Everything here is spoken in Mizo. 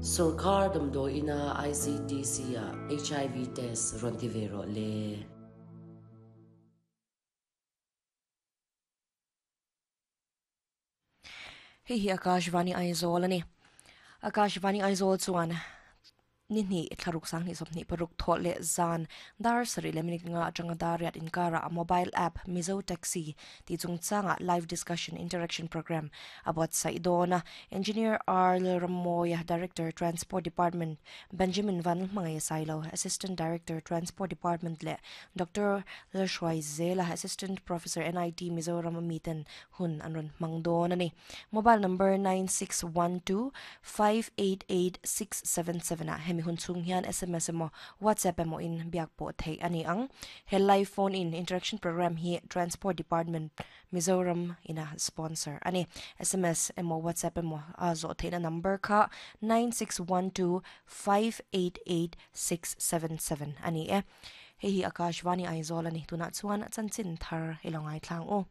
Sawrkar damdawiina ICTC-ah HIV test rawn ti ve rawh le. Hei hi Akashvani Aizawl a ni. Akashvani Aizawl chuan ni hnih thlaruk sanghnih 26 thawh leh zan dar sarih leh minute nga atanga dar riat inkarah a mobile app Mizo Taxi tih chungchangah live discussion interaction programme a buatsaih dawn a. Engineer R Lalrammawia, Director, Transport Department, Benjamin Vanlalhmangaih Sailo, Assistant Director, Transport Department leh Doctor Lalhruai Zela, Assistant Professor, NIT Mizoram a miten hun an rawn hmang dawn a ni. Mobile number 9612588677 ah hemi hun chhung hian sms emaw WhatsApp emaw in biak pawh theih a ni ang. He live phone in interaction programme hi Transport Department Mizoram ina sponsor a ni. Sms emaw WhatsApp emaw a zawh theihna number kha 9612588677 a ni e. Hei hi Akashvani Aizawl a ni. Tunah chuan chanchin thar i lo ngaithlang u.